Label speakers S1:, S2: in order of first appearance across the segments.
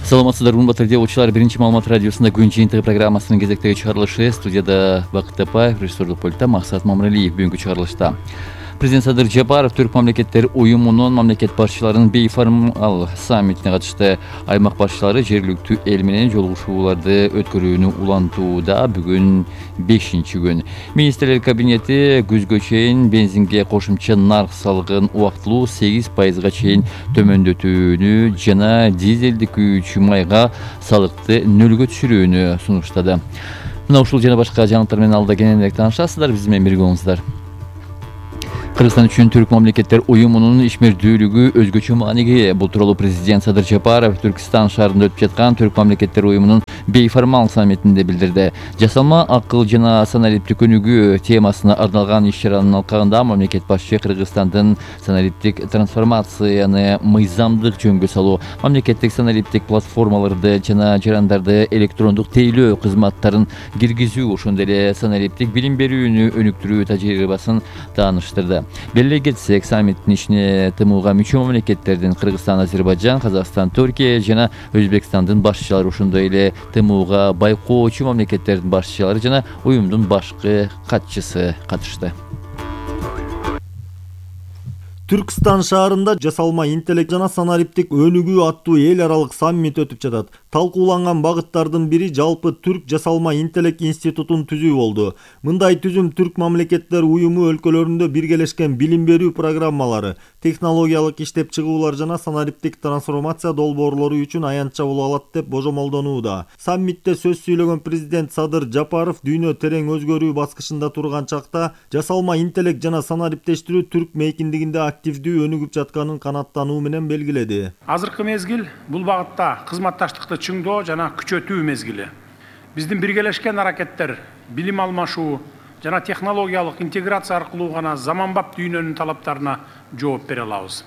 S1: Саламатсыздар, урматтуу окуучулар. Биринчи маалымат радиосунда күн жыйынтыгы программасынын кезектеги чыгарылышы. Студияда Бакыт Тапаев, режиссерлук пультта Максат Мамыралиев. Бүгүнкү чыгарылышта президент Садыр Жапаров Түрк мамлекеттер уюмунун мамлекет башчыларынын бейформал саммитине катышты. Аймак башчылары жергиликтүү эл менен жолугушууларды өткөрүүнү улантууда. Бүгүн 5-күн. Министрлер кабинети күзгө чейин бензинге кошумча нарк салыгын убактылуу 8%га чейин төмөндөтүүнү жана дизелдик күйүүчү майга салыкты нөлгө түшүрүүнү сунуштады. Мына ушул жана башка жаңылыктар менен алда кененирээк таанышасыздар. Биз менен бирге болуңуздар. Кыргызстан үчүн Түрк мамлекеттер уюмунун ишмердүүлүгү өзгөчө мааниге ээ. Бул тууралуу президент Садыр Жапаров Түркстан шаарында өтүп жаткан Түрк мамлекеттер уюмунун бейформал саммитинде билдирди. Жасалма акыл жана саналиптик өнүгүү темасына арналган иш-чаранын алкагында мамлекет башчы Кыргызстандын саналиптик трансформацияны мыйзамдык жөнгө салуу, мамлекеттик саналиптик платформаларды жана жарандарды электрондук тейлөө кызматтарын киргизүү, ошондой эле саналиптик билим берүүнү өнүктүрүү тажрыйбасын тааныштырды. Белгилей кетсек, саммиттин ишине ТМУга мүчө мамлекеттердин Кыргызстан, Азербайжан, Казакстан, Түркия жана Өзбекстандын башчылары, ошондой эле ТМУга байкоочу мамлекеттердин башчылары жана уюмдун башкы катчысы катышты.
S2: Түркстан шаарында жасалма интеллект жана саналиптик өнүгүү аттуу эл аралык саммит өтүп жатат. Талкууланган багыттардын бири жалпы Түрк жасалма интеллект институтун түзүү болду. Мындай түзүм Түрк мамлекеттер уюму өлкөлөрүндө биргелешкен билим берүү программалары, технологиялык иштеп чыгуулар жана саналиптик трансформация долбоорлору үчүн аянтча боло алат деп божомолдонууда. Саммитте сөз сүйлөгөн президент Садыр Жапаров дүйнө терең өзгөрүү баскычында турган чакта жасалма интеллект жана саналиптештирүү Түрк мейкиндигинде активдүү өнүгүп жатканын канааттануу менен белгиледи.
S3: Азыркы мезгил бул багытта кызматташтыкты чыңдоо жана күчөтүү мезгили. Биздин биргелешкен аракеттер, билим алмашуу жана технологиялык интеграция аркылуу гана заманбап дүйнөнүн талаптарына жооп бере алабыз.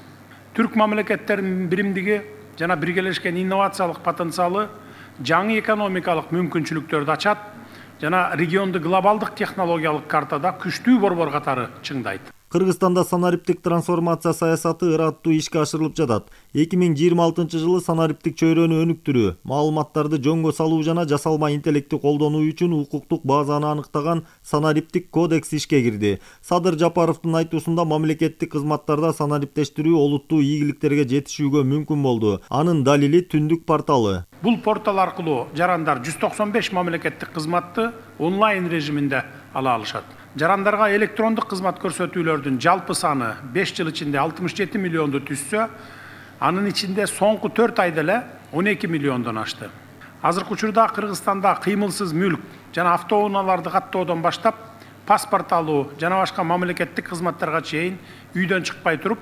S3: Түрк мамлекеттеринин биримдиги жана биргелешкен инновациялык потенциалы жаңы экономикалык мүмкүнчүлүктөрдү ачат жана регионду глобалдык технологиялык картада күчтүү борбор катары чыңдайт.
S2: Кыргызстанда саналиптик трансформация саясаты ыраттуу ишке ашырылып жатат. 2026-жылы саналиптик чөйрөнү өнүктүрүү, маалыматтарды жөнгө салуу жана жасалма интеллектти колдонуу үчүн укуктук базаны аныктаган саналиптик кодекс ишке кирди. Садыр Жапаровдун айтуусунда мамлекеттик кызматтарда саналиптештирүү олуттуу ийгиликтерге жетишүүгө мүмкүн болду. Анын далили Түндүк порталы.
S3: Бул портал аркылуу жарандар 195 мамлекеттик кызматты онлайн режиминде ала алышат. Жарандарга электрондук кызмат көрсөтүүлөрдүн жалпы саны 5 жыл ичинде 67 миллионду түзсө, анын ичинде соңку 4 айда эле 12 миллиондон ашты. Азыркы учурда Кыргызстанда кыймылсыз мүлк жана автоунааларды каттоодон баштап, паспорт алуу жана башка мамлекеттик кызматтарга чейин үйдөн чыкпай туруп,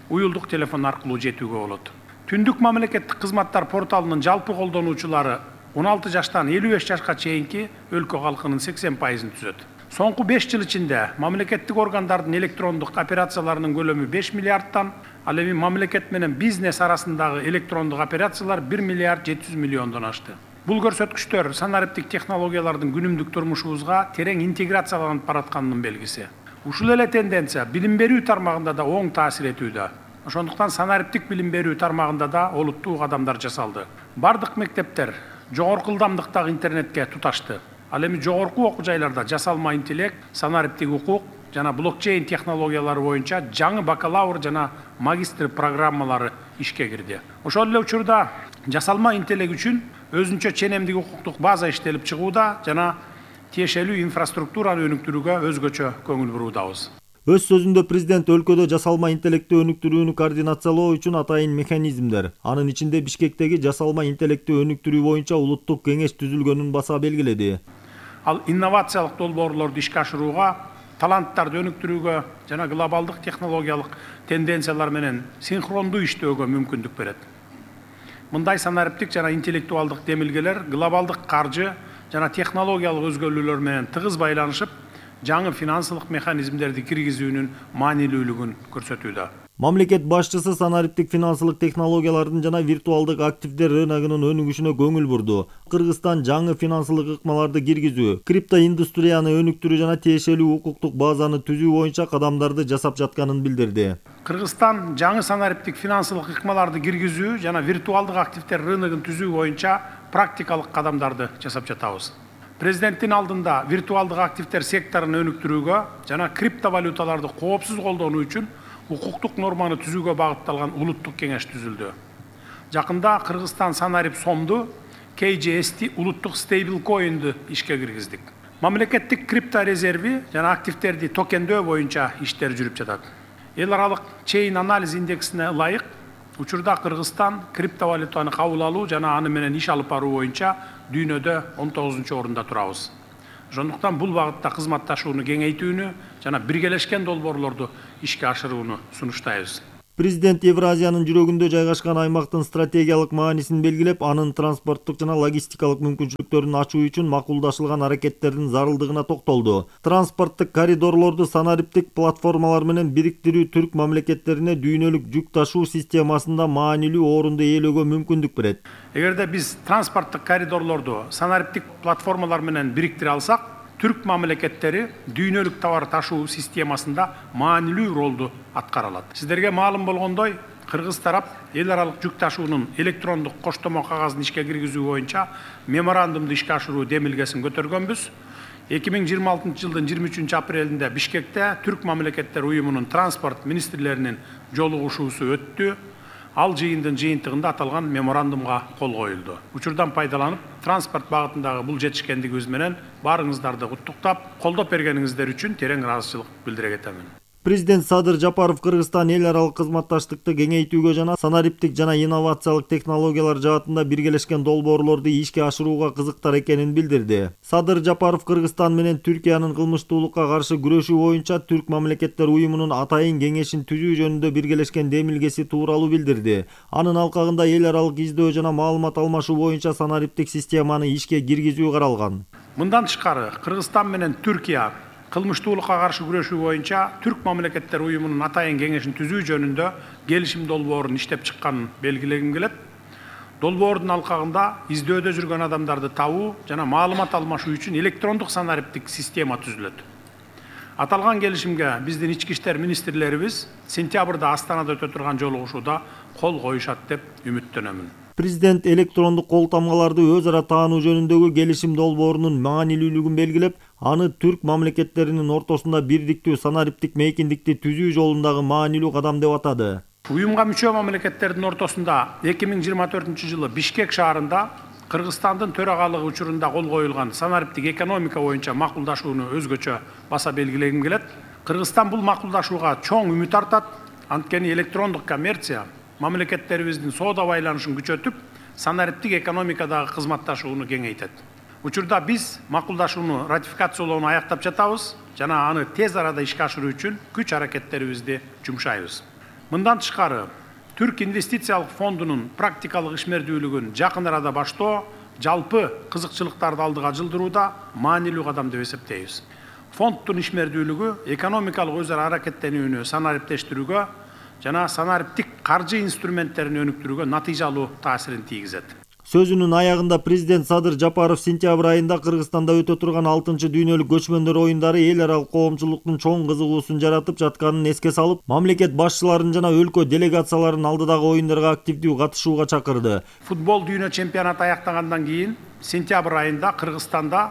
S3: уюлдук телефон аркылуу жетүүгө болот. Түндүк мамлекеттик кызматтар порталынын жалпы колдонуучулары 16 жаштан 55 жашка чейинки өлкө калкынын 80%-ын түзөт. Соңку 5 жыл ичинде мамлекеттик органдардын электрондук операцияларынын көлөмү 5 миллиардтан, ал эми мамлекет менен бизнес арасындагы электрондук операциялар 1 миллиард 700 миллиондон ашты. Бул көрсөткүчтөр саналиптик технологиялардын күнүмдүк турмушубузга терең интеграцияланып баратканынын белгиси. Ушул эле тенденция билим берүү тармагында да оң таасир этүүдө. Ошондуктан саналиптик билим берүү тармагында да олуттуу кадамдар жасалды. Бардык мектептер жогорку ылдамдыктагы интернетке туташты. Ал эми жогорку окуу жайларда жасалма интеллект, саналиптик укук жана блокчейн технологиялары боюнча жаңы бакалавр жана магистр программалары ишке кирди. Ошол эле учурда жасалма интеллект үчүн өзүнчө ченемдик укуктук база иштелип чыгууда жана тиешелүү инфраструктураны өнүктүрүүгө өзгөчө көңүл буруудабыз.
S2: Өз сөзүндө президент өлкөдө жасалма интеллектти өнүктүрүүнү координациялоо үчүн атайын механизмдер, анын ичинде Бишкектеги жасалма интеллектти өнүктүрүү боюнча улуттук кеңеш түзүлгөнүн баса белгиледи.
S3: Ал инновациялык долбоорлорду ишке ашырууга, таланттарды өнүктүрүүгө жана глобалдык технологиялык тенденциялар менен синхрондуу иштөөгө мүмкүндүк берет. Мындай саналиптик жана интеллектуалдык демилгелер глобалдык каржы жана технологиялык өзгөрүүлөр менен тыгыз байланышып, жаңы финансылык механизмдерди киргизүүнүн маанилүүлүгүн көрсөтүүдө.
S2: Мамлекет башчысы санариптик финансылык технологиялардын жана виртуалдык активдер рыногунун өнүгүшүнө көңүл бурду. Кыргызстан жаңы финансылык ыкмаларды киргизүү, криптоиндустрияны өнүктүрүү жана тиешелүү укуктук базаны түзүү боюнча кадамдарды жасап жатканын билдирди.
S3: Кыргызстан жаңы санариптик финансылык ыкмаларды киргизүү жана виртуалдык активдер рыногун түзүү боюнча практикалык кадамдарды жасап жатабыз. Президенттин алдында виртуалдык активдер секторун өнүктүрүүгө жана криптовалюталарды коопсуз колдонуу үчүн укуктук норманы түзүүгө багытталган улуттук кеңеш түзүлдү. Жакында Кыргызстан санарип сомду KJST улуттук стейблкоинду ишке киргиздик. Мамлекеттик крипто резерви жана активдерди токендөө боюнча иштер жүрүп жатат. Эл аралык чейин анализ индексине ылайык учурда Кыргызстан криптовалютаны кабыл алуу жана аны менен иш алып баруу боюнча дүйнөдө 19-орунда турабыз. Ошондуктан бул багытта кызматташууну кеңейтүүнү жана биргелешкен долбоорлорду ишке ашырууну сунуштайбыз.
S2: Президент Евразиянын жүрөгүндө жайгашкан аймактын стратегиялык маанисин белгилеп, анын транспорттук жана логистикалык мүмкүнчүлүктөрүн ачуу үчүн макулдашылган аракеттердин зарылдыгына токтолду. Транспорттук коридорлорду санариптик платформалар менен бириктирүү түрк мамлекеттерине дүйнөлүк жүк ташуу системасында маанилүү орунду ээлөөгө мүмкүндүк берет.
S3: Эгерде биз транспорттук коридорлорду санариптик платформалар менен бириктире алсак, түрк мамлекеттери дүйнөлүк товар ташуу системасында маанилүү ролду аткара алат. Сиздерге маалым болгондой, Кыргыз тарап эл аралык жүк ташуунун электрондук коштомо кагазын ишке киргизүү боюнча меморандумду ишке ашыруу демилгесин көтөргөнбүз. 2026 жылдын 23 апрелинде Бишкекте түрк мамлекеттер уюмунун транспорт министрлеринин жолугушуусу өттү. Ал жыйындын жыйынтыгында аталган меморандумга кол коюлду. Учурдан пайдаланып, транспорт багытындагы бул жетишкендигибиз менен баарыңыздарды куттуктап, колдоп бергениңиздер үчүн терең ыраазычылык билдире кетемин.
S2: Президент Садыр Жапаров Кыргызстан эл аралык кызматташтыкты кеңейтүүгө жана санариптик жана инновациялык технологиялар жаатында биргелешкен долбоорлорду ишке ашырууга кызыктар экенин билдирди. Садыр Жапаров Кыргызстан менен Түркиянын кылмыштуулукка каршы күрөшүү боюнча Түрк мамлекеттер уюмунун атайын кеңешин түзүү жөнүндө биргелешкен демилгеси тууралуу билдирди. Анын алкагында эл аралык издөө жана маалымат алмашуу боюнча санариптик системаны ишке киргизүү каралган.
S3: Мындан тышкары Кыргызстан менен Түркия кылмыштуулукка каршы күрөшүү боюнча түрк мамлекеттер уюмунун атайын кеңешин түзүү жөнүндө келишим долбоорун иштеп чыкканын белгилегим келет. Долбоордун алкагында издөөдө жүргөн адамдарды табуу жана маалымат алмашуу үчүн электрондук санариптик система түзүлөт. Аталган келишимге биздин ички иштер министрлерибиз сентябрда Астанада өтө турган жолугушууда кол коюшат деп үмүттөнөмүн.
S2: Президент электрондук кол тамгаларды өз ара таануу жөнүндөгү келишим долбоорунун маанилүүлүгүн белгилеп, аны түрк мамлекеттеринин ортосунда бирдиктүү санариптик мейкиндикти түзүү жолундагы маанилүү кадам деп атады.
S3: Уюмга мүчө мамлекеттердин ортосунда 2024 жылы Бишкек шаарында Кыргызстандын төрагалыгы учурунда кол коюлган санариптик экономика боюнча макулдашууну өзгөчө баса белгилегим келет. Кыргызстан бул макулдашууга чоң үмүт артат, анткени электрондук коммерция мамлекеттерибиздин соода байланышын күчөтүп, санариптик экономикадагы кызматташууну кеңейтет. Учурда биз макулдашууну ратификациялоону аяктап жатабыз жана аны тез арада ишке ашыруу үчүн күч аракеттерибизди жумшайбыз. Мындан тышкары, Түрк инвестициялык фондунун практикалык ишмердүүлүгүн жакын арада баштоо жалпы кызыкчылыктарды алдыга жылдырууда маанилүү кадам деп эсептейбиз. Фонддун ишмердүүлүгү экономикалык өз ара аракеттенүүнү санариптештирүүгө жана санариптик каржы инструменттерин өнүктүрүүгө натыйжалуу таасирин тийгизет.
S2: Сөзүнүн аягында президент Садыр Жапаров сентябрь айында Кыргызстанда өтө турган 6-чы дүйнөлүк көчмөндөр оюндары эл аралык коомчулуктун чоң кызыгуусун жаратып жатканын эске салып, мамлекет башчыларын жана өлкө делегацияларын алдыдагы оюндарга активдүү катышууга чакырды.
S3: Футбол дүйнө чемпионаты аяктагандан кийин сентябрь айында Кыргызстанда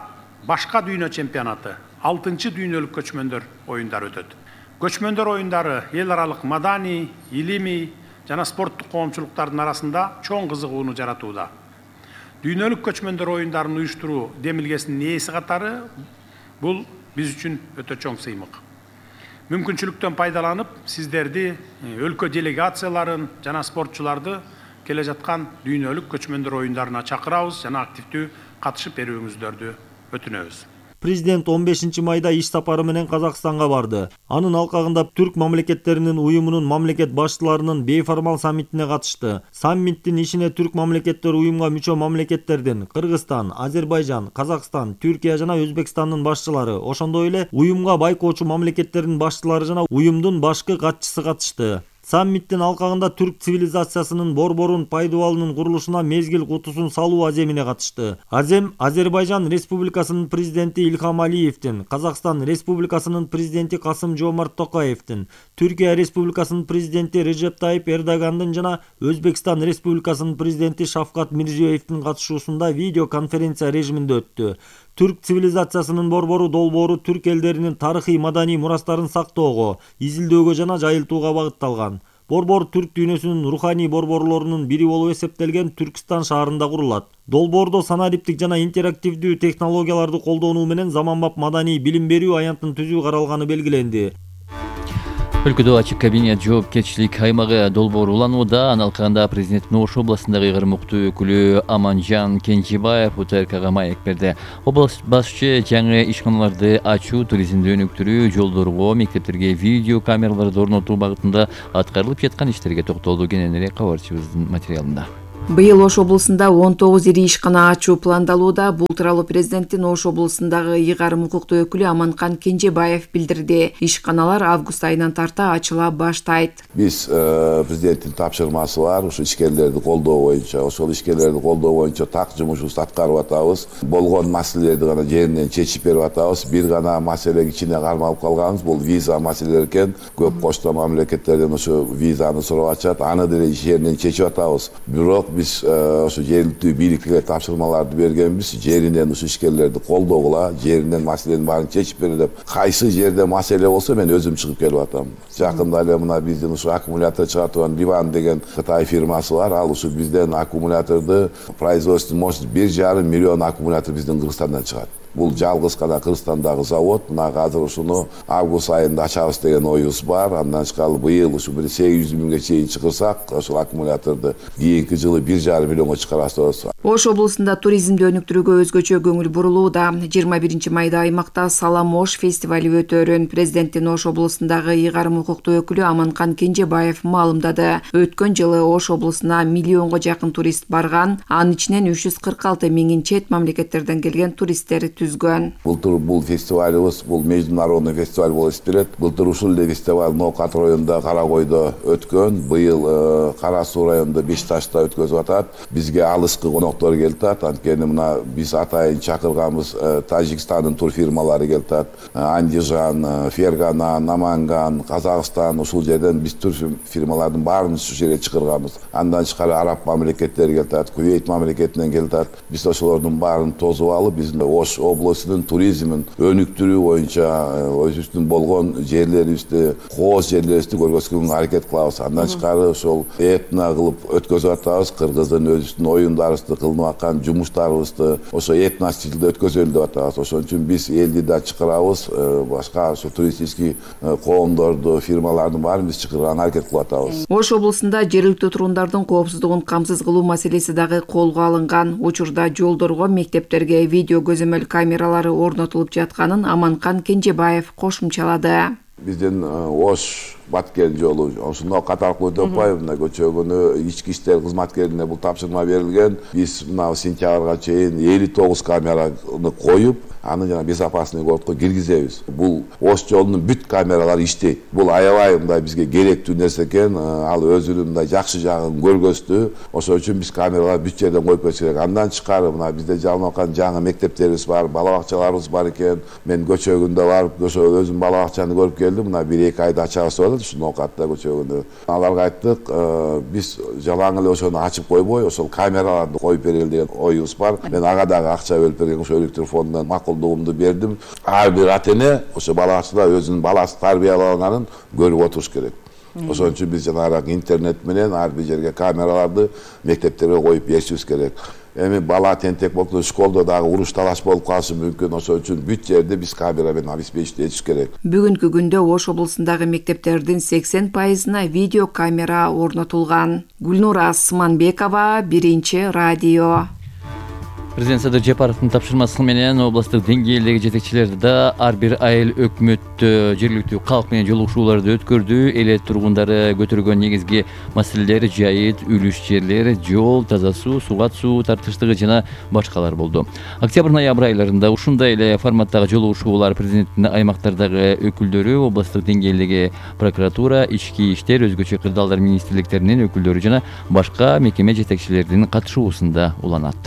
S3: башка дүйнө чемпионаты 6-чы дүйнөлүк көчмөндөр оюндары өтөт. Көчмөндөр оюндары эл аралык маданий, илимий жана спорттук коомчулуктардын арасында чоң кызыгууну жаратууда. Дүйнөлүк көчмөндөр оюндарын уюштуруу демилгесинин ээси катары бул биз үчүн өтө чоң сыймык. Мүмкүнчүлүктөн пайдаланып, сиздерди, өлкө делегацияларын жана спортчуларды келе жаткан дүйнөлүк көчмөндөр оюндарына чакырабыз жана активдүү катышып берүүңүздөрдү өтүнөбүз.
S2: Президент 15 майда иш сапары менен Казакстанга барды. Анын алкагында түрк мамлекеттеринин уюмунун мамлекет башчыларынын бейформал саммитине катышты. Саммиттин ишине түрк мамлекеттер уюмга мүчө мамлекеттердин Кыргызстан, Азербайжан, Казакстан, Түркия жана Өзбекстандын башчылары, ошондой эле уюмга байкоочу мамлекеттердин башчылары жана уюмдун башкы катчысы катышты. Саммиттин алкагында түрк цивилизациясынын борборун пайдубалынын курулушуна мезгил кутусун салуу аземине катышты. Азем Азербайжан Республикасынын президенти Ильхам Алиевдин, Казакстан Республикасынын президенти Касым-Жомарт Токаевдин, Түркия Республикасынын президенти Режеп Тайип Эрдогандын жана Өзбекстан Республикасынын президенти Шавкат Мирзиёевдин катышуусунда видеоконференция режиминде өттү. Түрк цивилизациясынын борбору долбоору түрк элдеринин тарыхый маданий мурастарын сактоого, изилдөөгө жана жайылтууга багытталган. Борбор түрк дүйнөсүнүн руханий борборлорунун бири болуп эсептелген Түркстан шаарында курулат. Долбоордо санариптик жана интерактивдүү технологияларды колдонуу менен заманбап маданий билим берүү аянтын түзүү каралганы белгиленди.
S1: Өлкөдө ачык кабинет жоопкерчилик аймагы долбоору уланууда. Анын алкагында президенттин Ош областындагы ыйгарым укуктуу өкүлү Аманжан Кенжебаев УТРКга маек берди. Область башчы жаңы ишканаларды ачуу, туризмди өнүктүрүү, жолдорго, мектептерге видео камераларды орнотуу багытында аткарылып жаткан иштерге токтолду. Кененирээк кабарчыбыздын материалында.
S4: Быйыл Ош облусунда 19 ири ишкана ачуу пландалууда. Бул тууралуу президенттин Ош облусундагы ыйгарым укуктуу өкүлү Аманкан Кенжебаев билдирди. Ишканалар август айынан тарта ачыла баштайт.
S5: Биз президенттин тапшырмасы бар, ушу ишкерлерди колдоо боюнча, ошол ишкерлерди колдоо боюнча так жумушубузду аткарып атабыз. Болгон маселелерди гана жеринен чечип берип атабыз. Бир гана маселе кичине кармалып калганбыз, бул виза маселелери экен. Көп кошто мамлекеттерден ошо визаны сурап атышат, аны деле жеринен чечип атабыз. Бирок биз ошо жергиликтүү бийликке тапшырмаларды бергенбиз, жеринен ушу ишкерлерди колдогула, жеринен маселенин баарын чечип бере деп. Кайсы жерде маселе болсо мен өзүм чыгып келип атам. Жакында эле мына биздин ушу аккумулятор чыгартып аткан Ливан деген Кытай фирмасы бар. Ал ушу бизден аккумуляторду производство мощность 1,5 миллион аккумулятор биздин Кыргызстандан чыгат. Бул жалгыз гана Кыргызстандагы завод. Мына азыр ушуну август айында ачабыз деген оюбуз бар. Андан тышкары быйыл ушу 800 миңге чейин чыгырсак, ошол аккумуляторду кийинки жылы 1,5 миллионго чыгарабыз.
S4: Ош облусунда туризмди өнүктүрүүгө өзгөчө көңүл бурулууда. 21 майда аймакта Салам Ош фестивали өтөөрүн президенттин Ош облусундагы ыйгарым укуктуу өкүлү Аманкан Кенжебаев маалымдады. Өткөн жылы Ош облусуна миллионго жакын турист барган, анын ичинен 346 миңин чет мамлекеттерден келген туристтер түзгөн.
S5: Былтыр бул фестивалыбыз, бул международный фестиваль болуп эсептелет. Былтыр ушул эле фестиваль Ноокат районунда Каракойдо өткөн. Быйыл Кара Суу районунда Бешташта өткөзүп атат. Бизге алыскы коноктор келип атат. Анткени мына биз атайын чакырганбыз Тажикстандын тур фирмалары келип атат. Андижан, Фергана, Наманган, Казакстан, ушул жерден биз тур фирмалардын баарын ушул жерге чакырганбыз. Андан тышкары араб мамлекеттери келип атат, Кувейт мамлекетинен келип атат. Биз ошолордун баарын тосуп алып, биздин Ош облусунун туризмин өнүктүрүү боюнча өзүбүздүн болгон жерлерибизди, кооз жерлерибизди көргөзгөнгө аракет кылабыз. Андан тышкары ошол этно кылып өткөзүп атабыз. Кыргыздын өзүбүздүн оюндарыбызды, кылынып аткан жумуштарыбызды ошо этно стилде өткөзөлү деп атабыз. Ошон үчүн биз элди да чакырабыз, башка ошо туристический коомдорду, фирмалардын баарын биз чакырганга аракет кылып атабыз.
S4: Ош облусунда жергиликтүү тургундардын коопсуздугун камсыз кылуу маселеси дагы колго алынган. Учурда жолдорго, мектептерге видео көзөмөл камералары орнотулуп жатканын Аманкан Кенжебаев кошумчалады.
S5: Биздин Ош Баткен жолу ошондо катаркы өтүп атпайбы, мына көчөгүнү ички иштер кызматкерине бул тапшырма берилген. Биз мына сентябрга чейин 59 камераны коюп, аны жана безопасный городко киргизебиз. Бул Ош жолунун бүт камералары иштейт. Бул аябай мындай бизге керектүү нерсе экен. Ал өзүнүн мындай жакшы жагын көргөздү. Ошон үчүн биз камераларды бүт жерден коюп кетиш керек. Андан тышкары мына бизде жалынып аткан жаңы мектептерибиз бар, бала бакчаларыбыз бар экен. Мен көчөгүндө барып, ошо өзүм бала бакчаны көрүп келдим. Мына 1-2 айда ачабыз деп ушу Ноокатта көчөгүндө. Аларга айттык, биз жалаң эле ошону ачып койбой, ошол камераларды коюп берели деген оюбуз бар. Мен ага дагы акча бөлүп берген, ошо электр фондунан макулдугумду бердим. Ар бир ата эне ошо бала бакчада өзүнүн баласы тарбияланганын көрүп отуруш керек. Ошон үчүн биз жанагы интернет менен ар бир жерге камераларды мектептерге коюп беришибиз керек. Эми бала тентек болду, школдо дагы уруш талаш болуп калышы мүмкүн. Ошон үчүн бүт жерде биз камера менен обеспечить этиш керек.
S4: Бүгүнкү күндө Ош облусундагы мектептердин 80%на видео камера орнотулган. Гүлнура Асманбекова, Биринчи радио.
S1: Президент Садыр Жапаровдун тапшырмасы менен областтык деңгээлдеги жетекчилер да ар бир айыл өкмөттө жергиликтүү калк менен жолугушууларды өткөрдү. Эле тургундары көтөргөн негизги маселелер жайыт, үлүш жерлер, жол, таза суу, сугат суу тартыштыгы жана башкалар болду. Октябрь-ноябрь айларында ушундай эле форматтагы жолугушуулар президенттин аймактардагы өкүлдөрү, областтык деңгээлдеги прокуратура, ички иштер, өзгөчө кырдаалдар министрликтеринин өкүлдөрү жана башка мекеме жетекчилеринин катышуусунда уланат.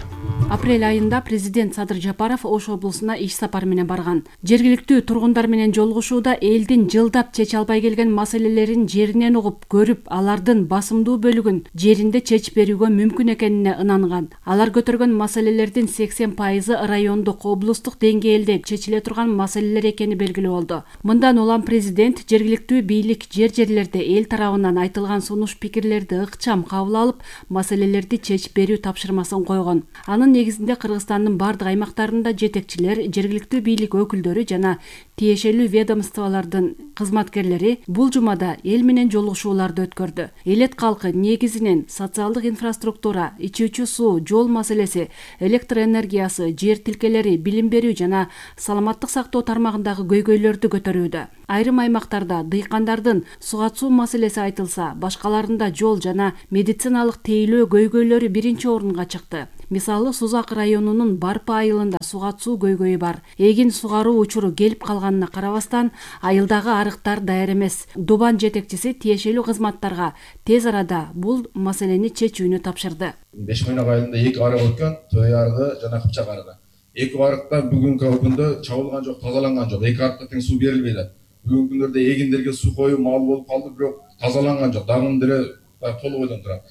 S6: Апрель айында президент Садыр Жапаров Ош облусуна иш сапар менен барган. Жергиликтүү тургундар менен жолугушууда элдин жылдап чече албай келген маселелерин жеринен угуп, көрүп, алардын басымдуу бөлүгүн жеринде чечип берүүгө мүмкүн экенине ынанган. Алар көтөргөн маселелердин 80% райондук, облустук деңгээлде чечиле турган маселелер экени белгилүү болду. Мындан улам президент жергиликтүү бийлик жерлерде эл тарабынан айтылган сунуш пикирлерди ыкчам кабыл алып, маселелерди чечип берүү тапшырмасын койгон. Анын негизинде Кыргызстандын бардык аймактарында жетекчилер, жергиликтүү бийлик өкүлдөрү жана тиешелүү ведомстволордун кызматкерлери бул жумада эл менен жолугушууларды өткөрдү. Элет калкы негизинен социалдык инфраструктура, ичүүчү суу, жол маселеси, электр энергиясы, жер тилкелери, билим берүү жана саламаттык сактоо тармагындагы көйгөйлөрдү көтөрүүдө. Айрым аймактарда дыйкандардын сугат суу маселеси айтылса, башкаларында жол жана медициналык тейлөө көйгөйлөрү биринчи орунга чыкты. Мисалы, Сузак районунун Барпы айылында сугат суу көйгөйү бар. Эгин сугаруу учуру келип калганына карабастан, айылдагы арыктар даяр эмес. Дубан жетекчиси тиешелүү кызматтарга тез арада бул маселени чечүүнү тапшырды.
S7: Бешмойнак айылында 2 арык өткөн, Төй арыгы жана Кыпчак арыгы. 2 арыкта бүгүнкү күндө чабылган жок, тазаланган жок. 2 арыкта тең суу берилбей атат. Бүгүнкү күндөрдө эгиндерге суу коюу мал болуп калды, бирок тазаланган жок. Дагы деле толугойдон турат.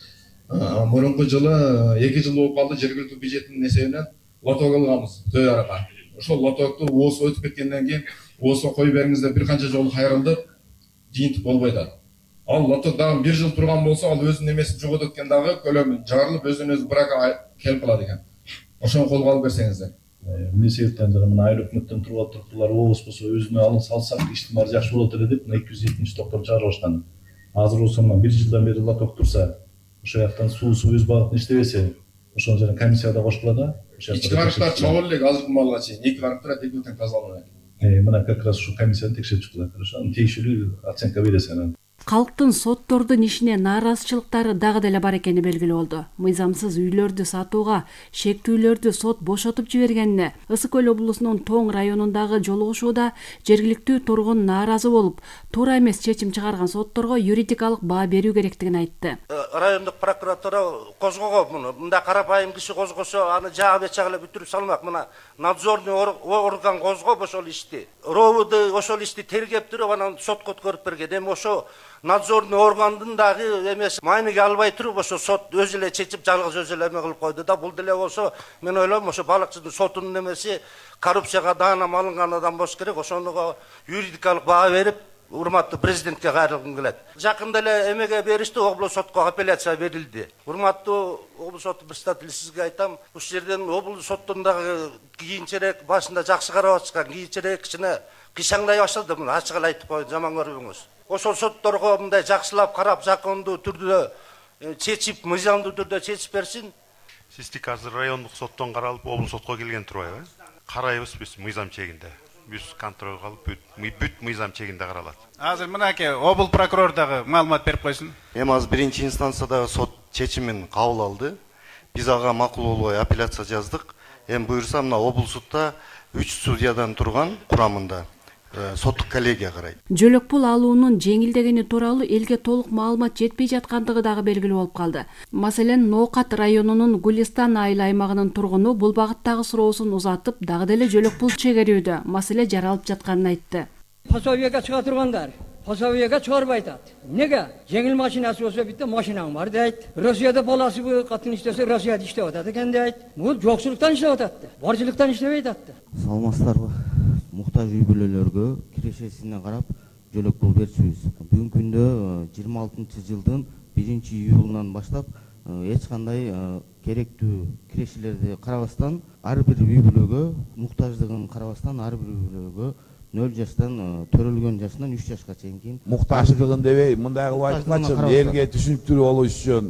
S7: Мурунку жылы 2 жыл болуп калды, жергиликтүү бюджеттин эсебинен лоток алганбыз Төй арыга. Ошол лотокту ООС өтүп кеткенден кийин ООСко коюп бериңиз деп бир канча жолу кайрылдык, жыйынтык болбой атат. Ал лоток дагы 1 жыл турган болсо, ал өзүнүн эмесин жоготот экен, дагы көлөмү жарылып, өзүнө брака келип калат экен. Ошону колго алып берсеңиздер.
S8: Эмне себептен мына айыл өкмөттөн туруптурлар ООС болсо өзүнө алын салсак иштин баары жакшы болот эле деп 270 токтор чыгарып алышкан. Азыр болсо 1 жылдан бери лоток турса, ошол жактан суусу өз багытын иштебесе, ошону жана комиссияда кошкула да.
S7: Ички арыктар чабылып элек азыркы маалга чейин 2 арыктар экөө тең тазаланат.
S8: Мына как раз ушу комиссияны текшерип чыкты. Ошону тиешелүү оценка бересен.
S6: Калктын соттордун ишине нааразычылыктары дагы деле бар экени белгилүү болду. Мыйзамсыз үйлөрдү сатууга шектүүлөрдү сот бошотуп жибергенине Ысык Көл облусунун Тоң районундагы жолугушууда жергиликтүү тургун нааразы болуп, туура эмес чечим чыгарган сотторго юридикалык баа берүү керектигин айтты.
S9: Райондук прокуратура козгогон муну. Мында карапайым киши козгосо, аны жаап чагылып бүтүрүп салмак. Мына надзорный орган козгоп ошол ишти. РОВД ошол ишти тергеп туруп анан сотко өткөрүп берген. Эми ошо надзорный органдын дагы эмес майныга албай туруп ошо сот өзү эле чечип жалгыз өзү эле эме кылып койду да. Бул деле болсо мен ойлойм ошо балыкчынын сотунун эмеси коррупцияга даанам алынган адам болуш керек. Ошонуга юридикалык баа берип урматтуу президентке кайрылгым келет. Жакында эле эмеге беришти, облус сотко апелляция берилди. Урматтуу облус соту председатели, сизге айтам, ушул жерден облус соттун дагы кийинчерээк башында жакшы карап атышкан, кийинчерээк кичине кыйшаңдай баштады. Муну ачык эле айтып коеюн, жаман көрбөңүз. Ошол сотторго мындай жакшылап карап, закондуу түрдө чечип, мыйзамдуу түрдө чечип берсин.
S10: Сиздики азыр райондук соттон каралып, облус сотко келген турбайбы? Карайбыз биз мыйзам чегинде. Биз контролго алып, бүт мыйзам чегинде каралат.
S11: Азыр мынакей обл прокурор дагы маалымат берип койсун.
S12: Эми азыр биринчи инстанциядагы сот чечимин кабыл алды. Биз ага макул болбой апелляция жаздык. Эми буюрса мына обл сутта 3 судьядан турган курамында соттук коллегия карайт.
S6: Жөлөк пул алуунун жеңилдегени тууралуу элге толук маалымат жетпей жаткандыгы дагы белгилүү болуп калды. Маселен, Ноокат районунун Гулистан айыл аймагынын тургуну бул багыттагы суроосун узатып, дагы деле жөлөк пул чегерүүдө маселе жаралып жатканын айтты.
S13: Пособияга чыга тургандар пособияга чыгарбай атат. Неге? Жеңил машинасы болсо битте машинаң бар дейт. Россияда баласы катын иштесе Россияда иштеп атат экен дейт. Бул жокчулуктан иштеп атат. Барчылыктан иштебей атат.
S14: Салмастарбы? Муктаж үй бүлөлөргө кирешесине карап жөлөк пул берчүбүз. Бүгүнкү күндө 26-жылдын 1-июлунан баштап эч кандай керектүү кирешелерди карабастан, ар бир үй бүлөгө муктаждыгын карабастан, ар бир үй бүлөгө 0 жаштан төрөлгөн жашынан 3 жашка чейинки
S5: муктаждыгын дебей мындай кылып айткачы элге түшүнүктүү болуш үчүн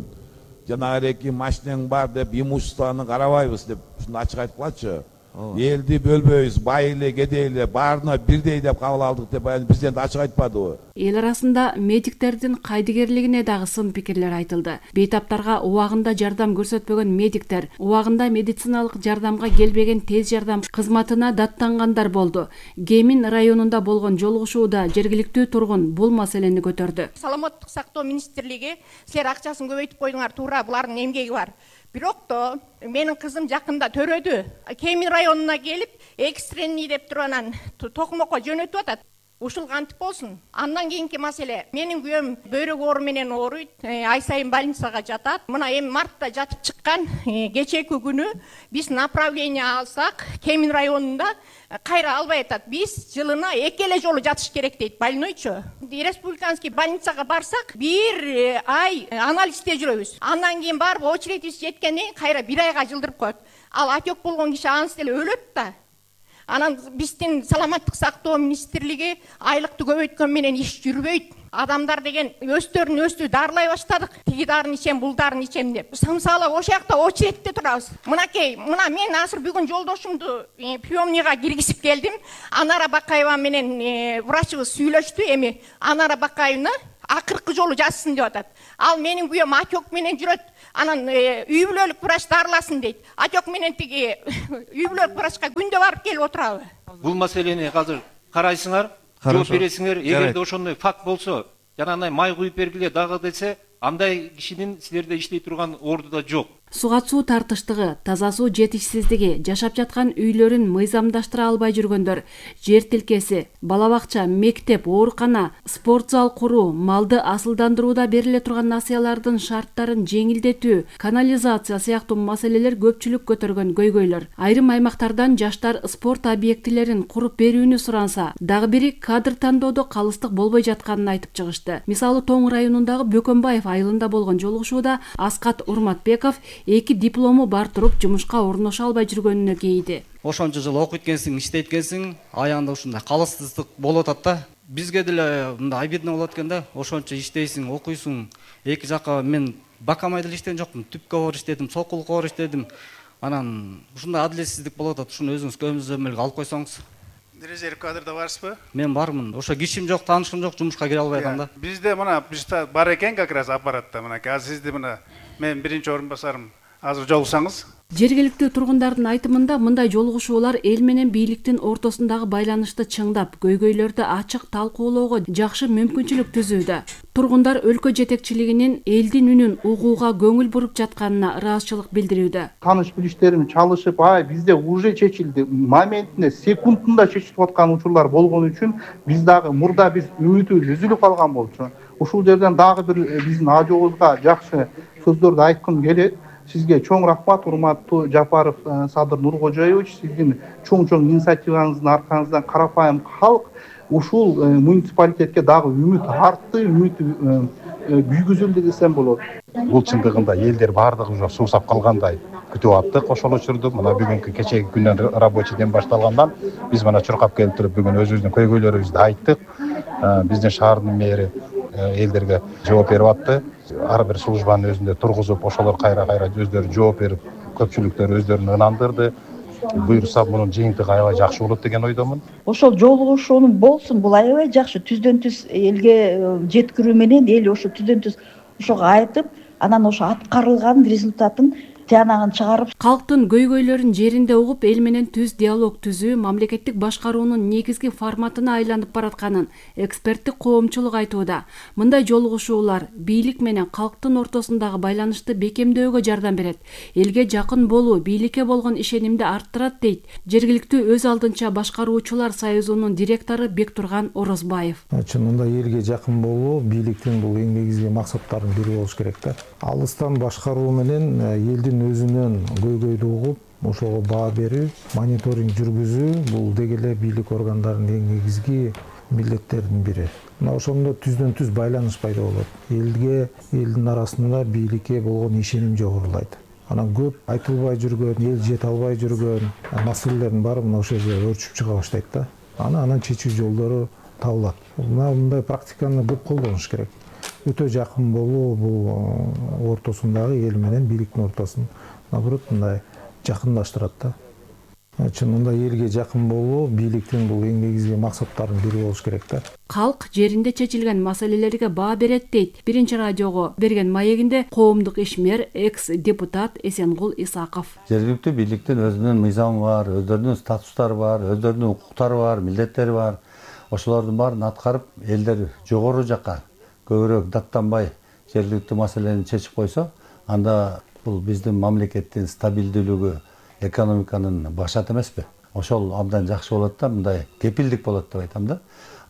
S15: жанагы эки машинең бар деп имуществоны карабайбыз деп ушуну ачык айткылачы. Элди бөлбөйбүз, бай эле, кедей эле баарына бирдей деп кабыл алдык деп президент ачык айтпадыбы?
S6: Эл арасында медиктердин кайдыгерлигине дагы сын пикирлер айтылды. Бейтаптарга убагында жардам көрсөтпөгөн медиктер, убагында медициналык жардамга келбеген тез жардам кызматына даттангандар болду. Гемин районунда болгон жолугушууда жергиликтүү тургун бул маселени көтөрдү.
S16: Саламаттык сактоо министрлиги силер акчасын көбөйтүп койдуңар, туура, булардын эмгеги бар. Бирок то менин кызым жакында төрөдү. Кемин районуна келип, экстренный деп туруп анан токмокко жөнөтүп атат. Ушул кантип болсун? Андан кийинки маселе. Менин күйөөм бөйрөк оору менен ооруйт. Ай сайын больницага жатат. Мына эми мартта жатып чыккан. Кечеки күнү биз направление алсак, Кемин районунда кайра албай атат. Биз жылына 2 эле жолу жатыш керек дейт больнойчу. Республиканский больницага барсак, 1 ай анализде жүрөбүз. Андан кийин барып очередибиз жеткенден кайра 1 айга жылдырып коет. Ал отек болгон киши ансы деле өлөт да. Анан биздин саламаттык сактоо министрлиги айлыкты көбөйткөн менен иш жүрбөйт. Адамдар деген өздөрүн өзү дарылай баштадык. Тиги дарын ичем, бул дарын ичем деп. Сымсалы ошол жакта очередте турабыз. Мынакей, мына мен азыр бүгүн жолдошумду приемныйга киргизип келдим. Анара Бакаева менен врачыбыз сүйлөштү. Эми Анара Бакаевна акыркы жолу жазсын деп атат. Ал менин күйөөм отек менен жүрөт. Анан үй бүлөлүк врач дарыласын дейт. Отек менен тиги үй бүлөлүк врачка күндө барып келип отурабы?
S17: Бул маселени азыр карайсыңар, жооп бересиңер. Эгерде ошондой факт болсо, жанагындай май куюп бергиле дагы десе, андай кишинин силерде иштей турган ордуда жок.
S6: Суга суу тартыштыгы, таза суу жетишсиздиги, жашап жаткан үйлөрүн мыйзамдаштыра албай жүргөндөр, жер тилкеси, бала бакча, мектеп, оорукана, спорт зал куруу, малды асылдандырууда бериле турган насыялардын шарттарын жеңилдетүү, канализация сыяктуу маселелер көпчүлүк көтөргөн көйгөйлөр. Айрым аймактардан жаштар спорт объектилерин куруп берүүнү суранса, дагы бири кадр тандоодо калыстык болбой жатканын айтып чыгышты. Мисалы, Тоң районундагы Бөкөнбаев айылында болгон жолугушууда Аскат Урматбеков 2 диплому бар туруп жумушка орноша албай жүргөнүнө кейди.
S18: Ошончо жыл окуйт экенсиң, иштейт экенсиң, аягында ушундай калыстык болуп атат да. Бизге деле мындай обидно болот экен да. Ошончо иштейсиң, окуйсуң. Эки жакка мен бакамай деле иштеген жокмун. Түпкө бар иштедим, сокулукка бар иштедим. Анан ушундай адилетсиздик болуп атат. Ушуну өзүңүз көзөмөлгө алып койсоңуз.
S11: Резерв кадрда барсызбы?
S18: Мен бармын. Ошо кишим жок, таанышым жок, жумушка кире албай атам да.
S11: Бизде мына бизде бар экен как раз аппаратта. Мына азыр сизди мына мен биринчи орун басарым. Азыр жолуксаңыз.
S6: Жергиликтүү тургундардын айтымында мындай жолугушуулар эл менен бийликтин ортосундагы байланышты чыңдап, көйгөйлөрдү ачык талкуулоого жакшы мүмкүнчүлүк түзүүдө. Тургундар өлкө жетекчилигинин элдин үнүн угууга көңүл буруп жатканына ыраазычылык билдирүүдө.
S19: Таныш билиштерим чалышып, бизде уже чечилди, моментинде, секундунда чечилип аткан учурлар болгон үчүн биз дагы мурда биз үмүтүбүз үзүлүп калган болчу. Ушул жерден дагы бир биздин ажообузга жакшы сөздөрдү айткым келет. Sizge çoğun rahmat, урматтуу Жапаров Садыр Нуркожоевич, sizin çoğun инициативаңыздын аркаңыздан карапайым халк ушул муниципалитетке дагы үмүт артты, үмүт күйгүзүлдү десем болот.
S20: Бул чындыгында элдер баардыгы уже суусап калгандай күтүп аттык ошол учурду. Мына бүгүнкү кечеги күндөн рабочий ден башталгандан биз мына чуркап келип туруп бүгүн өзүбүздүн көйгөйлөрүбүздү айттык. Биздин шаардын мэри элдерге жооп берип атты. Ар бир службанын өзүндө тургузуп, ошолор кайра өздөрү жооп берип, көпчүлүктөр өздөрүн ынандырды. Буюрса мунун жыйынтыгы аябай жакшы болот деген ойдомун.
S21: Ошол жолугушуунун болсун, бул аябай жакшы. Түздөн түз элге жеткирүү менен эл ошо түздөн түз ошого айтып, анан ошо аткарылган результатын тиянагын чыгарып,
S6: калктын көйгөйлөрүн жеринде угуп, эл менен түз диалог түзүү мамлекеттик башкаруунун негизги форматына айланып баратканын эксперттик коомчулук айтууда. Мындай жолугушуулар бийлик менен калктын ортосундагы байланышты бекемдөөгө жардам берет. Элге жакын болуу бийликке болгон ишенимди арттырат дейт жергиликтүү өз алдынча башкаруучулар союзунун директору Бектурган Орозбаев.
S22: Чынында элге жакын болуу бийликтин бул эң негизги максаттарынын бири болуш керек да. Алыстан башкаруу менен элдин өзүнөн көйгөйдү угуп, ошого баа берүү, мониторинг жүргүзүү бул деги эле бийлик органдарынын эң негизги милдеттеринин бири. Мына ошондо түздөн түз байланыш пайда болот. Элге, элдин арасында бийликке болгон ишеним жогорулайт. Анан көп айтылбай жүргөн, эл жете албай жүргөн маселелердин баары мына ошол жерде өрчүп чыга баштайт да. Анан чечүү жолдору табылат. Мындай практиканы көп колдонуш керек. өтө жакын болуу бул ортосундагы эл менен бийликтин ортосын наоборот мындай жакындаштырат да. Чынында элге жакын болуу бийликтин бул эң негизги максаттарынын бири болуш керек да.
S6: Калк жеринде чечилген маселелерге баа берет дейт Биринчи радиого берген маегинде коомдук ишмер, экс-депутат Эсенгул Исаков.
S2: Жергиликтүү бийликтин өзүнүн мыйзамы бар, өздөрүнүн статустары бар, өздөрүнүн укуктары бар, милдеттери бар. Ошолордун баарын аткарып, элдер жогору жакка көбүрөөк даттанбай жергиликтүү маселени чечип койсо, анда бул биздин мамлекеттин стабилдүүлүгү, экономиканын башат эмеспи? Ошол абдан жакшы болот да, мындай кепилдик болот деп айтам да.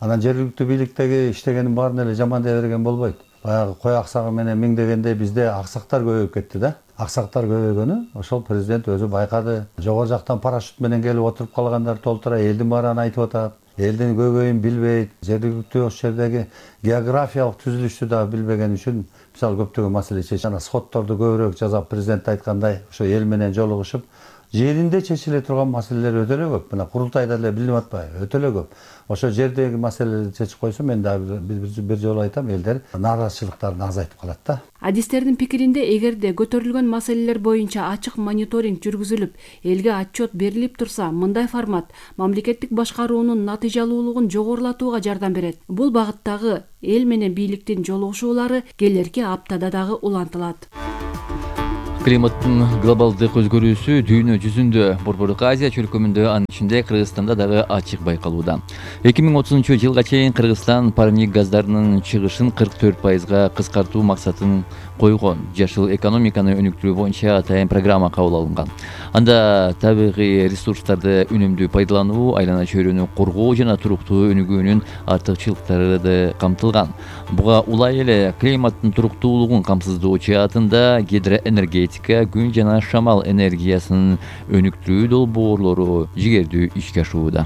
S2: Анан жергиликтүү бийликтеги иштегенин баарын эле жаман дей берген болбойт. Баягы кой аксагы менен миңдегенде бизде аксактар көбөйүп кетти да. Аксактар көбөйгөнү ошол президент өзү байкады. Жогору жактан парашют менен келип отуруп калгандар толтура элдин баарын айтып атат. Элдин көбөйүн билбейт, жергиликтүү ошол жердеги географиялык түзүлүштү да билбеген үчүн мисалы көптөгөн маселе чечилет. Жана сотторду көбүрөөк жасап, президент айткандай, ошо эл менен жолугушуп, жеринде чечиле турган маселелер өтө эле көп. Мына курултайда эле билинип атпайбы? Өтө эле көп. Ошо жердеги маселелерди чечип койсо, мен дагы бир жолу айтам, элдер нааразычылыктарын азайтып калат да.
S6: Адистердин пикиринде, эгерде көтөрүлгөн маселелер боюнча ачык мониторинг жүргүзүлүп, элге отчет берилип турса, мындай формат мамлекеттик башкаруунун натыйжалуулугун жогорулатууга жардам берет. Бул багыттагы эл менен бийликтин жолугушуулары келерки аптада дагы улантылат.
S1: Климаттын глобалдык өзгөрүүсү дүйнө жүзүндө, Борбордук Азия чөлкөмүндө, анын ичинде Кыргызстанда дагы ачык байкалууда. 2030-жылга чейин Кыргызстан парник газдарынын чыгышын 44%га кыскартуу максатын койгон. Жашыл экономиканы өнүктүрүү боюнча атайын программа кабыл алынган. Анда табигый ресурстарды үнөмдүү пайдалануу, айлана чөйрөнү коргоо жана туруктуу өнүгүүнүн артыкчылыктары да камтылган. Буга улай эле климаттын туруктуулугун камсыздоо жаатында гидроэнергетика, күн жана шамал энергиясынын өнүктүрүү долбоорлору жигердүү ишке ашууда.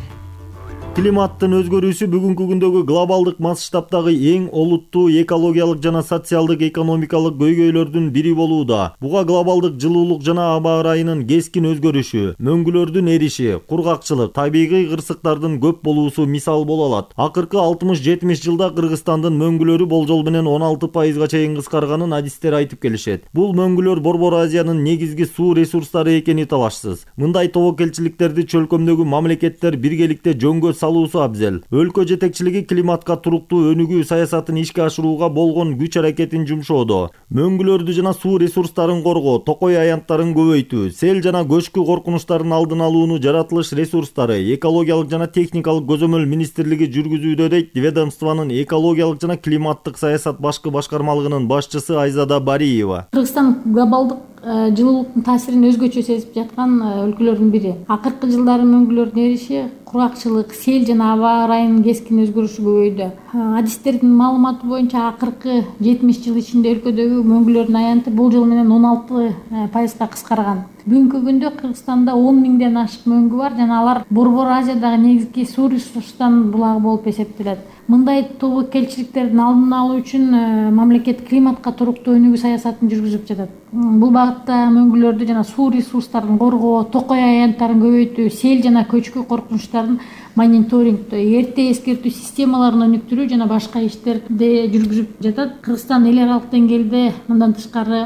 S3: Климаттын өзгөрүүсү бүгүнкү күндөгү глобалдык масштабтагы эң олуттуу экологиялык жана социалдык экономикалык көйгөйлөрдүн бири болууда. Буга глобалдык жылуулук жана аба ырайынын кескин өзгөрүшү, мөңгүлөрдүн эриши, кургакчылык, табигый кырсыктардын көп болуусу мисал боло алат. Акыркы 60-70 жылда Кыргызстандын мөңгүлөрү болжол менен 16%га чейин кыскарганын адистер айтып келишет. Бул мөңгүлөр Борбор Азиянын негизги суу ресурстары экени талашсыз. Мындай тобокелчиликтерди чөлкөмдөгү мамлекеттер биргеликте жөнгө салуусу абзел. Өлкө жетекчилиги климатка туруктуу өнүгүү саясатын ишке ашырууга болгон күч аракетин жумшоодо. Мөңгүлөрдү жана суу ресурстарын коргоо, токой аянттарын көбөйтүү, сел жана көчкү коркунучтарын алдын алууну жаратылыш ресурстары, экологиялык жана техникалык көзөмөл министрлиги жүргүзүүдө дейт ведомствонун экологиялык жана климаттык саясат башкы башкармалыгынын башчысы Айзада Бариева.
S23: Кыргызстан глобалдык жылуулуктун таасирин өзгөчө сезип жаткан өлкөлөрдүн бири. Акыркы жылдары мөңгүлөрдүн эриши, кургакчылык, сел жана аба ырайынын кескин өзгөрүшү көбөйдү. Адистердин маалыматы боюнча акыркы 70 жыл ичинде өлкөдөгү мөңгүлөрдүн аянты болжол менен 16%га кыскарган. Бүгүнкү күндө Кыргызстанда 10 миңден ашык мөңгү бар жана алар Борбор Азиядагы негизги суу ресурстарынын булагы болуп эсептелет. Мындай тобокелчиликтердин алдын алуу үчүн мамлекет климатка туруктуу өнүгүү саясатын жүргүзүп жатат. Бул багытта мөңгүлөрдү жана суу ресурстарын коргоо, токой аянттарын көбөйтүү, сел жана көчкү коркунучтарын мониторингтөө, эрте эскертүү системаларын өнүктүрүү жана башка иштерди жүргүзүп жатат. Кыргызстан эл аралык деңгээлде мындан тышкары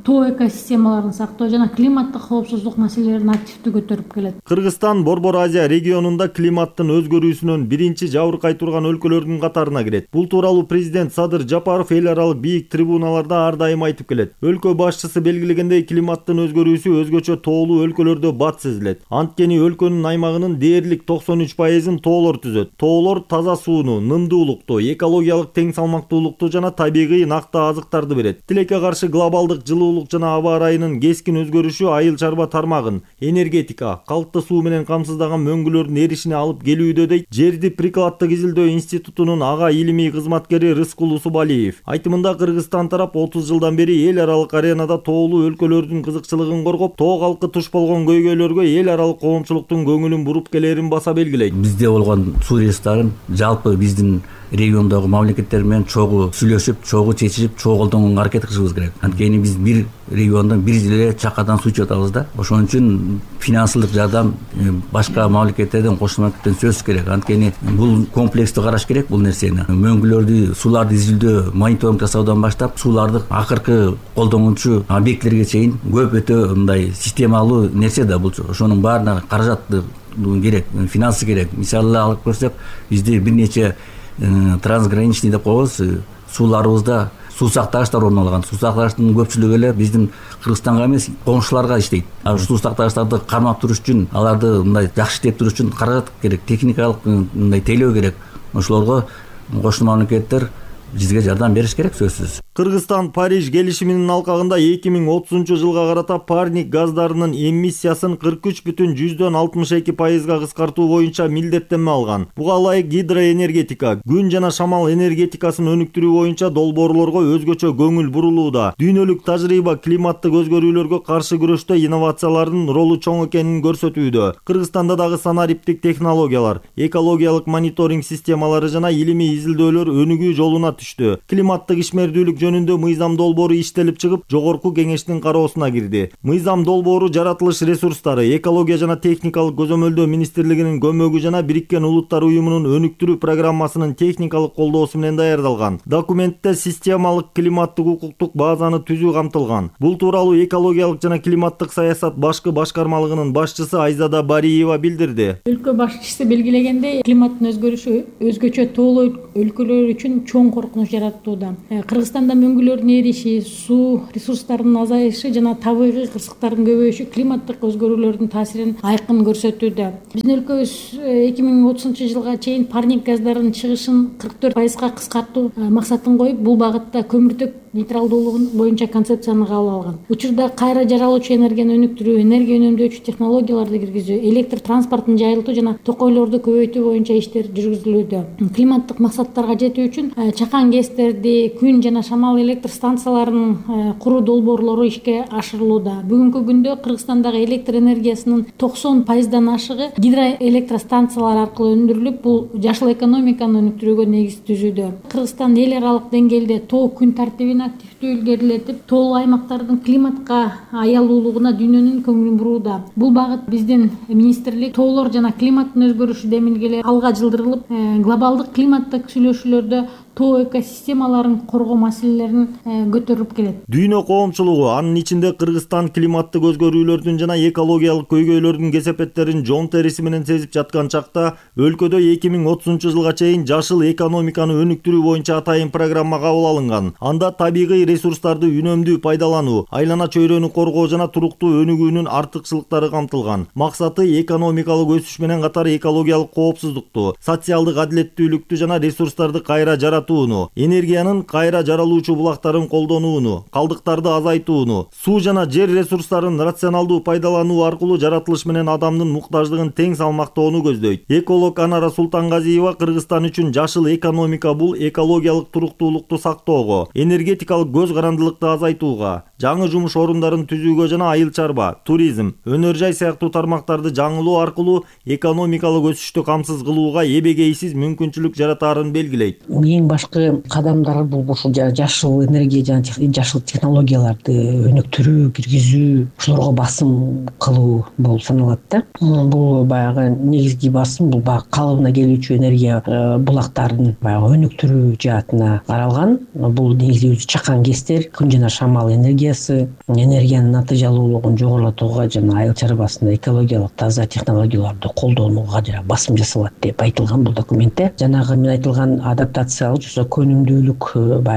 S23: тоо экосистемаларын сактоо жана климаттык коопсуздук маселелерин активдүү көтөрүп келет.
S3: Кыргызстан Борбор Азия регионунда климаттын өзгөрүүсүнөн биринчи жабыркай турган өлкөлөрдүн катарына кирет. Бул тууралуу президент Садыр Жапаров эл аралык бийик трибуналарда ар дайым айтып келет. Өлкө башчысы белгилегендей, климаттын өзгөрүүсү өзгөчө тоолуу өлкөлөрдө бат сезилет. Анткени өлкөнүн аймагынын дээрлик 93%-ын тоолор түзөт. Тоолор таза сууну, нымдуулукту, экологиялык тең салмактуулукту жана табигый накты азыктарды берет. Тилекке каршы глобалдык жылуулук жана аба ырайынын кескин өзгөрүшү айыл чарба тармагын, энергетика, калкты суу менен камсыздаган мөңгүлөрдүн эришине алып келүүдө дейт Жерди прикладдык изилдөө институтунун ага илимий кызматкери Рыскул Усубалиев. Айтымында Кыргызстан тарап 30 жылдан бери эл аралык аренада тоолуу өлкөлөрдүн кызыкчылыгын коргоп, тоо калкы туш болгон көйгөйлөргө эл аралык коомчулуктун көңүлүн буруп келерин баса белгилейт.
S24: Бизде болгон суу ресурстарын жалпы биздин
S4: региондогу мамлекеттер менен чогуу сүйлөшүп, чогуу чечишип, чогуу колдонгонго аракет кылышыбыз керек. Анткени биз бир региондон бир эле чакадан суу ичип атабыз да. Ошон үчүн финансылык жардам башка мамлекеттерден, кошмо мамлекеттерден сөзсүз керек. Анткени бул комплекстүү караш керек бул нерсени. Мөңгүлөрдү, сууларды изилдөө, мониторинг жасаудан баштап, сууларды акыркы колдонуучу объектилерге чейин көп өтө мындай системалуу нерсе да бул. Ошонун баарына каражат керек, финансы керек. Мисалы алып көрсөк, бизде бир нече трансграничный деп коебуз, сууларыбызда суу сактагычтар орун алган. Суу сактагычтын көпчүлүгү эле биздин Кыргызстанга эмес, коңшуларга иштейт. Суу сактагычтарды кармап туруш үчүн, аларды мындай жакшы иштеп туруш үчүн каражат керек, техникалык мындай тейлөө керек. Ошолорго кошмо мамлекеттер бизге жардам бериш керек сөзсүз.
S3: Кыргызстан Париж келишиминин алкагында 2030 жылга карата парник газдарынын эмиссиясын 43,62% кыскартуу боюнча милдеттенме алган. Буга ылайык гидроэнергетика, күн жана шамал энергетикасын өнүктүрүү боюнча долбоорлорго өзгөчө көңүл бурулууда. Дүйнөлүк тажрыйба климаттык өзгөрүүлөргө каршы күрөштө инновациялардын ролу чоң экенин көрсөтүүдө. Кыргызстанда дагы санариптик технологиялар, экологиялык мониторинг системалары жана илимий изилдөөлөр өнүгүү жолуна түштү. Климаттык ишмердүүлүк жөнүндө мыйзам долбоору иштелип чыгып, жогорку кеңештин кароосуна кирди. Мыйзам долбоору жаратылыш ресурстары, экология жана техникалык көзөмөлдөө министрлигинин көмөгү жана Бириккен Улуттар уюмунун өнүктүрүү программасынын техникалык колдоосу менен даярдалган. Документте системалык климаттык укуктук базаны түзүү камтылган. Бул тууралуу экологиялык жана климаттык саясат башкы башкармалыгынын башчысы Айзада Бариева билдирди.
S23: Өлкө башчысы белгилегендей, климаттын өзгөрүшү өзгөчө тоолуу өлкөлөр үчүн чоң коркунуч жаратууда. Кыргызстанда мөңгүлөрдүн эриши, суу ресурстарынын азайышы жана табигый кырсыктардын көбөйүшү климаттык өзгөрүүлөрдүн таасирин айкын көрсөтүүдө. Биздин өлкөбүз 2030 жылга чейин парник газдарынын чыгышын 44% кыскартуу максатын коюп, бул багытта көмүртөк нейтралдуулугун боюнча концепцияны кабыл алган. Учурда кайра жаралуучу энергияны өнүктүрүү, энергия үнөмдөөчү технологияларды киргизүү, электр транспортун жайылтуу жана токойлорду көбөйтүү боюнча иштер жүргүзүлүүдө. Климаттык максаттарга жетүү үчүн чакан ГЭСтерди, күн жана шамал электр станцияларынын куруу долбоорлору ишке ашырылууда. Бүгүнкү күндө Кыргызстандагы электр энергиясынын 90%дан ашыгы гидроэлектростанциялар аркылуу өндүрүлүп, бул жашыл экономиканы өнүктүрүүгө негиз түзүүдө. Кыргызстан эл аралык деңгээлде тоо күн тартибин активдүү илгерилетип, тоолуу аймактардын климатка аялуулугуна дүйнөнүн көңүлүн бурууда. Бул багыт биздин министрлик тоолор жана климаттын өзгөрүшү демилгелери алга жылдырылып, глобалдык климаттык сүйлөшүүлөрдө тоо экосистемаларын коргоо маселелерин көтөрүп келет.
S3: Дүйнө коомчулугу, анын ичинде Кыргызстан климаттык өзгөрүүлөрдүн жана экологиялык көйгөйлөрдүн кесепеттерин жон териси менен сезип жаткан чакта, өлкөдө 2030 жылга чейин жашыл экономиканы өнүктүрүү боюнча атайын программа кабыл алынган. Анда табигый ресурстарды үнөмдүү пайдалануу, айлана чөйрөнү коргоо жана туруктуу өнүгүүнүн артыкчылыктары камтылган. Максаты экономикалык өсүш менен катар экологиялык коопсуздукту, социалдык адилеттүүлүктү жана ресурстарды кайра энергиянын кайра жаралуучу булактарын колдонууну, калдыктарды азайтууну, суу жана жер ресурстарын рационалдуу пайдалануу аркылуу жаратылыш менен адамдын муктаждыгын тең салмактоону көздөйт. Эколог Анара Султангазиева Кыргызстан үчүн жашыл экономика бул экологиялык туруктуулукту сактоого, энергетикалык көз карандылыкты азайтууга, жаңы жумуш орундарын түзүүгө жана айыл чарба, туризм, өнөр жай сыяктуу тармактарды жаңылоо аркылуу экономикалык өсүштү камсыз кылууга эбегейсиз мүмкүнчүлүк жаратаарын белгилейт.
S7: Эң башкы кадамдар бул ушул жашыл энергия жана жашыл технологияларды өнүктүрүү, киргизүү, ошолорго басым кылуу болуп саналат да. Бул баягы негизги басым бул баягы калыбына келүүчү энергия булактарын баягы өнүктүрүү жаатына каралган. Бул негизи чакан ГЭСтер, күн жана шамал энергиясы, энергиянын натыйжалуулугун жогорулатууга жана айыл чарбасында экологиялык таза технологияларды колдонууга басым жасалат деп айтылган бул документте. Жанагы мен айтылган адаптациялык көнүмдүүлүк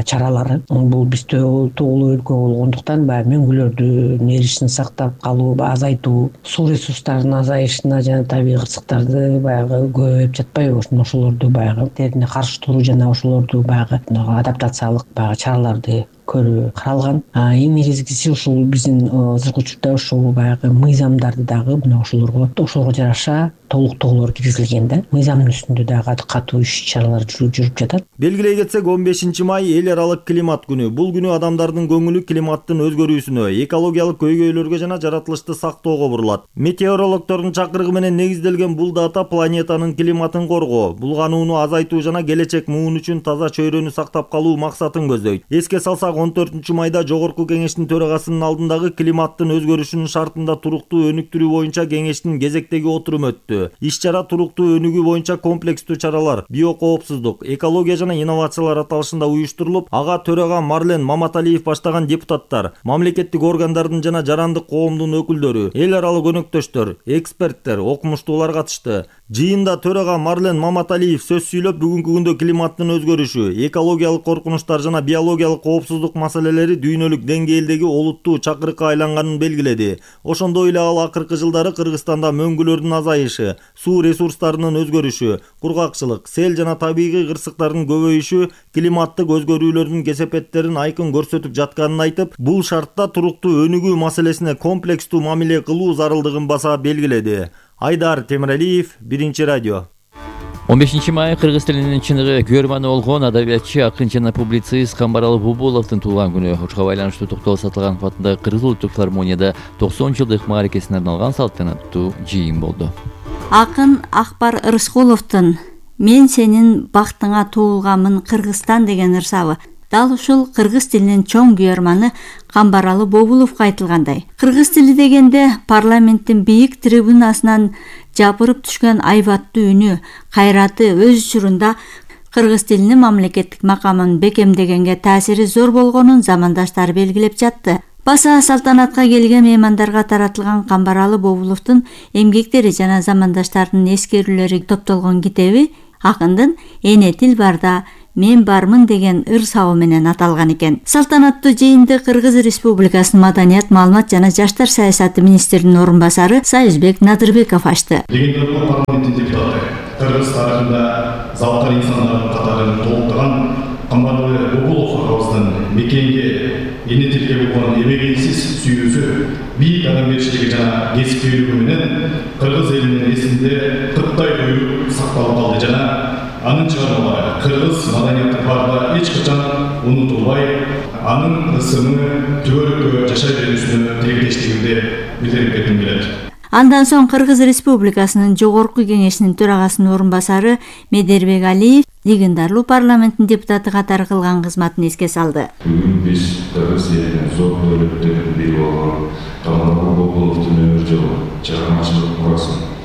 S7: чаралары бул биз тоолуу өлкө болгондуктан баягы мөңгүлөрдүн эришин сактап калуу, азайтуу, суу ресурстарынын азайышына жана табигый кырсыктарды баягы көбөйүп жатпайбы, ошолорду баягы терине каршы туруу жана ошолорду баягы адаптациялык чараларды каралган. Эң негизгиси ушул биздин азыркы учурда ушул баягы мыйзамдарды дагы мына ошолорго жараша толуктоолор киргизилген да. Мыйзамдын үстүндө дагы катуу иш-чаралар жүрүп жатат.
S3: Белгилей кетсек, 15 май эл аралык климат күнү. Бул күнү адамдардын көңүлү климаттын өзгөрүүсүнө, экологиялык көйгөйлөргө жана жаратылышты сактоого бурулат. Метеорологдордун чакырыгы менен негизделген бул дата планетанын климатын коргоо, булганууну азайтуу жана келечек муун үчүн таза чөйрөнү сактап калуу максатын көздөйт. Эске салсак, 14 майда Жогорку Кеңештин төрагасынын алдындагы климаттын өзгөрүшүнүн шартында туруктуу өнүктүрүү боюнча кеңештин кезектеги отуруму өттү. Иш-чара туруктуу өнүгүү боюнча комплекстүү чаралар, биокоопсуздук, экология жана инновациялар аталышында уюштурулуп, ага төрага Марлен Маматалиев баштаган депутаттар, мамлекеттик органдардын жана жарандык коомдун өкүлдөрү, эл аралык өнөктөштөр, эксперттер, окумуштуулар катышты. Жыйында төрага Марлен Маматалиев сөз сүйлөп, бүгүнкү күндө климаттын өзгөрүшү, экологиялык коркунучтар жана биологиялык коопсуздук маселелери дүйнөлүк деңгээлдеги олуттуу чакырыкка айланганын белгиледи. Ошондой эле ал акыркы жылдары Кыргызстанда мөңгүлөрдүн азайышы, суу ресурстарынын өзгөрүшү, кургакчылык, сел жана табигый кырсыктардын көбөйүшү климаттык өзгөрүүлөрдүн кесепеттерин айкын көрсөтүп жатканын айтып, бул шартта туруктуу өнүгүү маселесине комплекстүү мамиле кылуу зарылдыгын баса белгиледи. Айдар Темиралиев, Биринчи радио.
S1: 15 май кыргыз тилинин чыныгы көрманы болгон адабиятчы, акын жана публицист Камбаралы Бубуловдун туулган күнү. Ошого байланыштуу Токтогул Сатылганов атындагы Кыргыз улуттук филармонияда 90 жылдык мааракесине арналган салтанаттуу жыйын болду.
S8: Акын Акбар Рыскуловдун «Мен сенин бактыңа туулганмын Кыргызстан» деген ырсабы дал ушул кыргыз тилинин чоң күйөрманы Камбаралы Бобуловго айтылгандай. Кыргыз тили дегенде парламенттин бийик трибунасынан жапырып түшкөн айбаттуу үнү, кайраты өз учурунда кыргыз тилинин мамлекеттик макамын бекемдегенге таасири зор болгонун замандаштары белгилеп жатты. Баса салтанатка келген меймандарга таратылган Камбаралы Бобуловдун эмгектери жана замандаштарынын эскерүүлөрү топтолгон китеби акындын «Эне тил барда мен бармын» деген ырсабы менен аталган экен. Салтанаттуу жыйынды Кыргыз Республикасынын Маданият, маалымат жана жаштар саясаты министринин орун басары Сайызбек Надырбеков ачты.
S9: Парламенттин депутаты, Кыргыз тарыхында залкар инсандардын катарын толуктаган Камбаралы Бобулов агабыздын мекенге, эне тилге болгон эбегейсиз сүйүүсү, бийик адамгерчилиги жана кесипкөйлүгү менен кыргыз элинин эсинде 40 бою сакталып калды жана анын чыгармалары кыргыз маданияты барда эч качан унутулбай, анын ысымы түбөлүккө жашай берүүсүнө тилектештигимди билдирип кетким келет.
S8: Андан соң Кыргыз Республикасынын Жогорку Кеңешинин төрагасынын орун басары Медербек Алиев легендарлуу парламенттин депутаты катары кылган кызматын эске салды.
S10: Бүгүн биз кыргыз элинин зор өлөттөрүнүн бири болгон Камбаралы Бобуловдун өмүр жолу, чыгармачылык мурасын